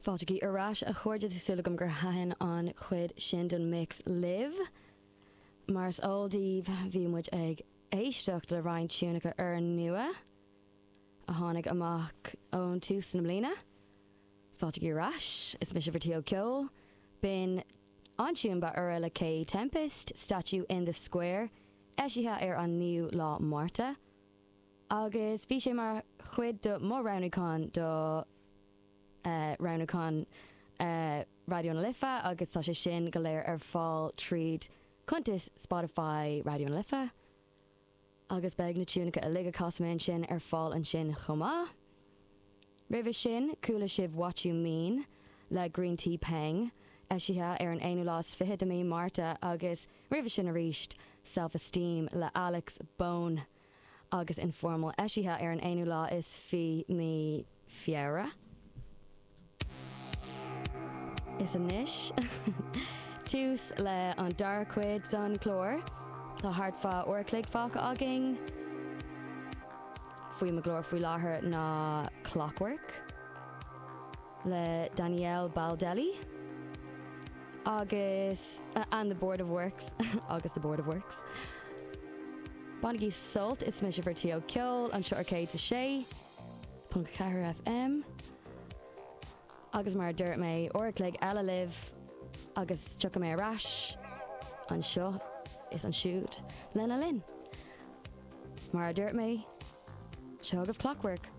Fáiltigí ar ais, a chairde, tá súil agam gur thaitin an chuid sin den mix libh. Mar is eol daoibh, bhí muid ag éisteacht le roinnt tiúnacha úrnua a tháinig amach ón tús na bliana. Fáiltigí ar ais, is mise bhur T.O. Ceoil. B'in an tiún ba úire le Kae Tempest, Statue in the Square, eisithe ar an 9ú lá Márta. Agus bhí sé mar chuid de mo roghnúchán do roghnúchán Raidió na Life agus tá sé sin go léir ar fáil tríd cuntas Spotify Raidió na Life. Agus beidh na tiúnacha uilig a chas mé ansin ar fáil ansin chomh maith. Roimhe sin, chuala sibh What You Mean le Greentea Peng, eisithe ar an aonú lá is fiche de mí Márta agus roimhe sin arís, Self Esteem le Alex Bone. agus Informal eisithe ar an aonú lá is fi mí Feabhra. Is anois tús le an dara cuid don chlár. Tá thart fá uair a chloig fágtha againn. Faoi mo ghlór faoi láthair ná Clockwork le Daniele Baldelli agus and the Board of Works agus the Board of Works. Bainigí sult, is mise bhur T.O. Ceoil anseo ar 106.4 FM agus mar a dúirt mé, uair a chloig eile libh agus tiocfaidh mé ar ais anseo is ansiúd lena linn. Mar a dúirt mé, seo agaibh Clockwork.